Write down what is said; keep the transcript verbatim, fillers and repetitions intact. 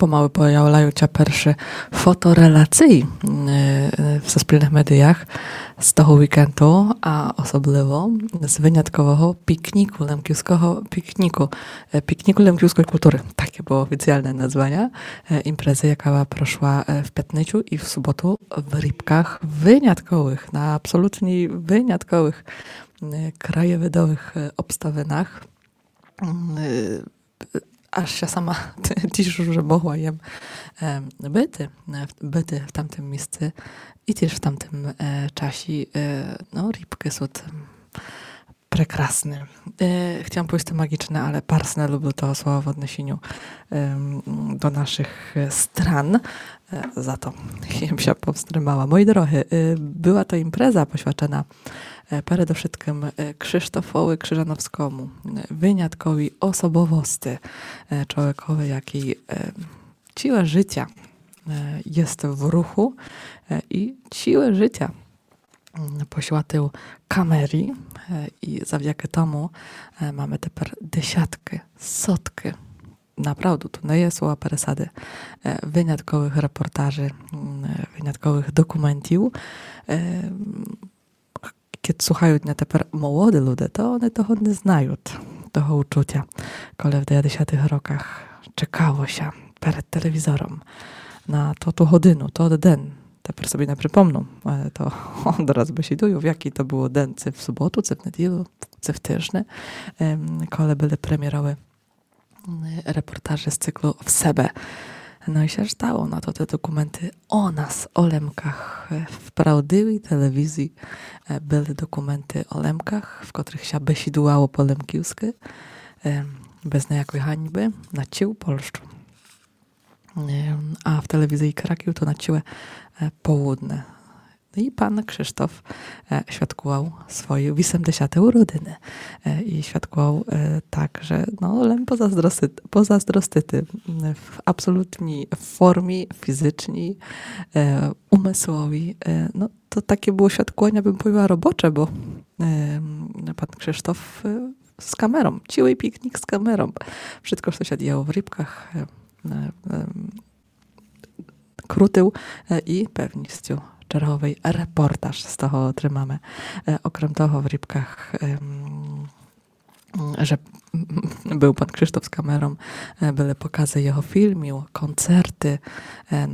Помалы появляют ся першы фоторелації, е, е, в суспільных медіях з того вікенду, а особливо з выняткового пікніку, лемківского пікніку, е, пікніку лемківской културы. Таке было офіціалне названя, е, імпрезы, яка прошла, е, в пятницю і в суботу в Рібках. Вынятковых, на абсолютні вынятковых, е, краєвидовых, е, обставинах. М, е, аж ся сама тішу, же могла єм, е, быти, е, в-, быти в тамтым місци і тіж в тамтым, е, часі, е, но, Рібкы сут, м, прекрасны. Е, хтіла повісти маґічны, але барз не люблю того слова в одношеню, ем, до нашых, е, стран. Е, за то єм ся повстримала. Мої дорогы, е, была то імпреза посвячена, е, передовшыткым, е, Крzysztofowi Krzyżanowskimu, е, вынятковій особовости, е, чловекови, якій, е, ціле жытя, е, єст в руху, е, і ціле жытя, м, посвятив камері, е, і завдякы тому, е, маме тепер десяткы, соткы, направду, то не є слова пересады, е, вынятковых репортажі, м, е, вынятковых документів. Е, м, кед слухают ня тепер молоды люде, то они того не знают, того учутя, коли в девятдесятых роках чекало ся перед телевізором на тоту годину, тот ден. Тепер собі не припомну, е, то одразу бесідую, в якій то было ден, ци в суботу, ци в неділю, ци в тыждень, ем, коли были премєровы, м, репортажі з циклу «В себе». Но і ся ждало на то, тоты документы о нас, о Лемках, е, в правдивій телевізії, е, были документы о Лемках, в котрых ся бесідувало по лемківскы, е, без ниякой ганьбы, на цілу Польщу. Е, а в телевізії Краків то на ціле, е, полудне. І пан Крzysztof, е, святкував свої вісемдесяты уродины. Е, і святкував, е, так, же, но, лем позаздрости-, позаздростити, м, в абсолютній формі фізичній, е, умысловій. Е, но, то таке было святкованя, бым повіла, робоче, бо, е, пан Крzysztof, е, з камером, цілий пікнік з камером. Вшытко, што ся діяло в Рібках, е, е, ем, крутив, е, і певністю черговый репортаж з того отримаме. Е, окрем того, в Рібках, ем, же был пан Крzysztof з камером, е, были показы його фільмів, концерты, е,